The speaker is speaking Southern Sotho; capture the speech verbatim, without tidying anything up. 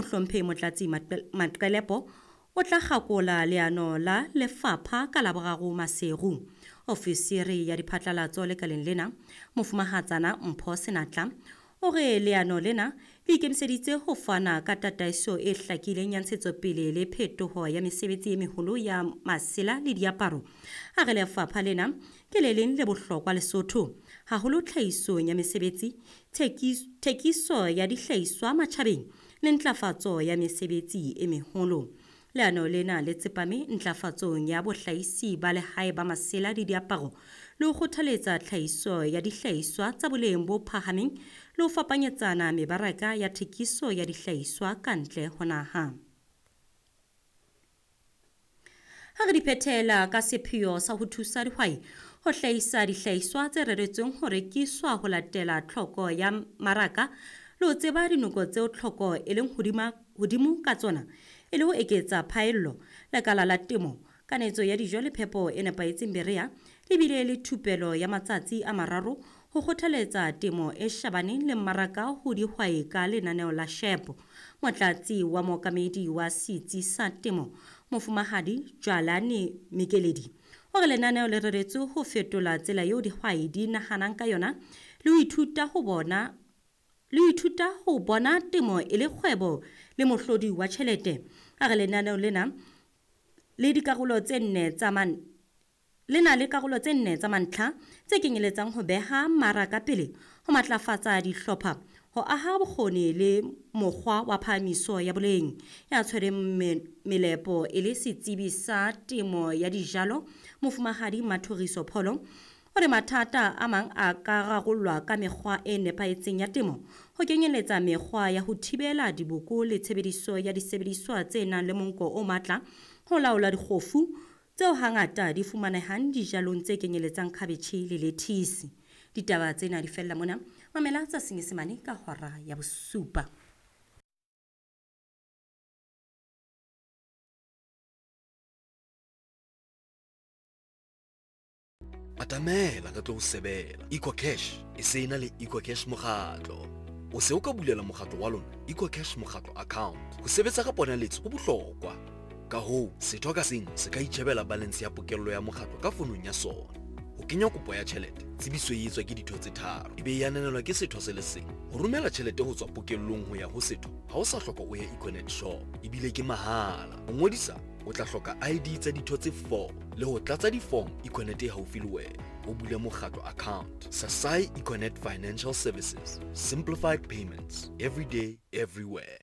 Mohlomphehi Motlatsi Maqelepo o tla kgakola leano la lefapha ka Laboraro Maseru. Ofisiri ya diphatlalatso lekaleng lena, Mofumahatsana Mpho Senatla, o re leano lena le ikemiseditse ho fana ka tataiso e hlakileng ya ntshetsopele le phetoho ya mesebetsi e meholo ya masela le diaparo. A re lefapha lena ke le leng le bohlokwa Lesotho, haholo tlhahisong ya mesebetsi, thekiso ya dihlahiswa matjhabeng le ntlafatso ya mesebetsi e meholo. Leano lena le tsepame ntlafatsong ya bohlahisi ba lehae ba masela le diaparo le ho kgothaletsa tlhahiso ya dihlahiswa tsa boleng bo phahameng le ho fapanyetsana mebaraka ya thekiso ya dihlahiswa ka ntle ho naha. Ha re di phethela ka sepheo sa ho thusa dihwai ho hlahisa dihlahiswa tse reretsweng ho rekiswa ho latela tlhoko ya maraka le ho tseba dinoko tseo tlhoko e leng hodima hodimo ka tsona e le ho eketsa phaello. Lekala la temo, kanetso ya dijo le phepo e nepahetseng Berea le bile le thupelo ya matsatsi a mararo ho kgothaletsa temo e shebaneng le mmaraka ho dihwai ka lenaneo la SHEP. Motlatsi wa mookamedi wa setsi sa temo, Mofumahadi Jwalane Mekeledi, o re lenaneo le reretswe ho fetola tsela eo dihwai di nahanang ka yona le ho ithuta ho bona le ho ithuta ho bona temo e le kgwebo le mohlodi wa tjhelete. A re lenaneo lena le dikarolo tse nne tsa man le na le karolo tse nne tsa mantlha tse kenyeletsang ho beha mmaraka pele, ho matlafatsa dihlopha, ho aha bokgoni le mokgwa wa phahamiso ya boleng. Ya tshwereng melepo e le setsebi sa temo ya dijalo, Mofumahadi Mathoriso Pholo, o re mathata a mang a ka rarollwa ka mekgwa e nepahetseng ya temo, ho kenyeletsa mekgwa ya ho thibela diboko le tshebediso ya disebediswa tse nang le monko o matla ho laola dikgofu tseo hangata di fumanehang dijalong tse kenyeletsang khabetjhe le lettuce. Ditaba tsena di fella mona. Mamela tsa Senyesemane ka hora ya bosupa. Atamela re tlo o sebela. EcoCash e se na le EcoCash mokgatlo. O se o ka bulela mokgatlo wa lona EcoCash mokgatlo account. Ho sebetsa ka ponaletso ho bohlokwa. Ka hoo, setho ka seng se ka itjhebela balance ya pokello ya mokgatlo ka fonong ya sona. Ho kenya kopo ya tjhelete, tsebiso e etswa ke ditho tse tharo, ebe e ananelwa ke setho se le seng. Ho romela tjhelete ho tswa pokellong ho ya ho setho, ha o sa hloka o ye Econet shop, ebile ke mahala. Ho ngodisa, o tla hloka I D tsa ditho tse four le ho tlatsa di-form Econet e haufi le wena. O bule mokgatlo account. Sasai Econet Financial Services. Simplified payments. Every day, everywhere.